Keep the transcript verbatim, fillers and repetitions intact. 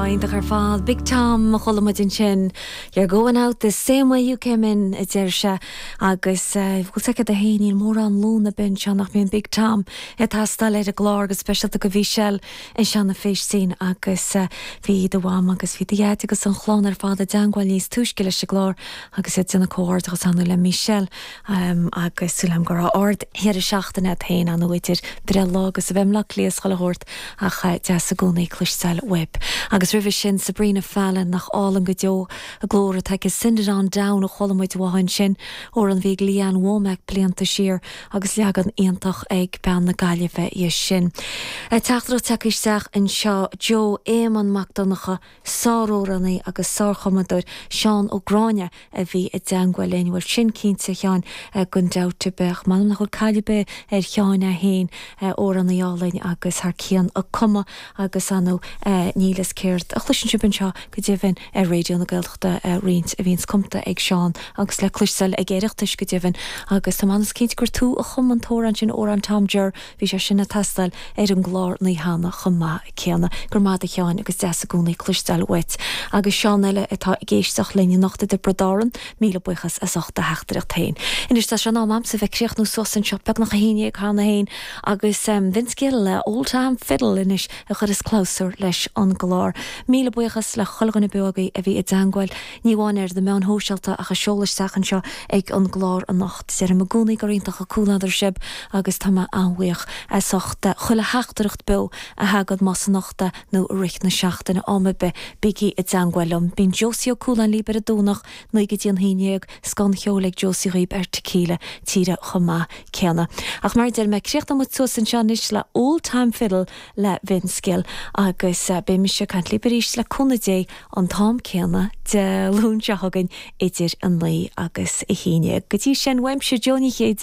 Iontach ar fad Big Tom a chuala muid ansin You're going out the same way you came in a deir sé agus bhfuil sé a héíon mórán lúna bin se nach mbíonn Big Tom ag teastáil ar an gclár go speisialta go Mhichelle in Seanadh Féistín agus bhí do mham agus bhí do dhaid agus an chlann ar fad i dteagmháil níos túisce leis an gclár agus iad ag déanamh comhghairdeachas ann le Michelle um, agus súil agam go raibh ard-dheireadh seachtaine féin an idir breithlá agus a bheith le clias chuile shórt ach deas i gcónaí cloisteáil uaibh. Agus roimhe sin Sabrina Fallon nach álainn go deo a glór atá Send it on down a chuala muid uaithi sin ó an bhí Lee Ann Womack blianta siar agus leagan iontach ag bean na Gaillimhe í sin. Teachtaireacht tagtha isteach anseo Joe Éamonn Mac Donncha sáramhránaí agus sárchumadóir Seán Ó Gráinne a bhí i dteagmháil linn bhfuil sin cinnte Sheáin gan dabht beach man nach bhfuil caibe ar Sheáin a haon amhránaí álainn agus thar cionn ag cumadh agus anú nílas céard a chloiseann sibh anseo go deimhin ar Raidió na Gaeltachta roinnt a bhíonns cumta ag Seán agus le cloisteáil ag Oireachtais go deimhin agus tá manas cinnte gur tú a chum an t-amhrán sin amhrán Tom Jer bhí sé sin ag teastáil ar an gclár ní hana chomh maith céanna gur maith a Sheáin agus deas i gcónaí cloisteáil uait agus Seán eile atá ag éisteacht linn anocht i dTiobraid Árann míle buíochas as ucht do theachtaireacht féin. Anois tá sé in am a'msa bheith críochnú suas anseo beagnach a haon déag cheana féin agus um, Vince Gill le Old Time Fiddle anois a chuireas clabhsúr leis an gclár. Míle buíochas le chuile dhuine beogaí a bhí i dteagmháil ní amháin ar na meáin shóisialta ach a sheol isteach anseo ag an gclár anocht. Deirim i gcónaí gur iontach an comhluadar sibh agus tá mé an-bhuíoch as ucht chuile theachtaireacht beo a thagann más anocht nó rith na seachtaine am ar bith bígí i dteagmháil liom. Bíonn Josie Ó Cualáin libh ar an Domhnach naoi go dtí an haon déag scoth an cheoil ag Josie dhaoibh ar Tequila tíre chomh maith céanna. Ach mar deir mé críochnóidh muid suas anseo anois le Old Time Fiddle le Vince Gill agus uh, beidh mise ag caint libh arís le cúnamh Dé an t-am céanna Dé Luain seo chugainn idir a naoi agus a haon. Go dtí sin uaimse Joe Ní Chéide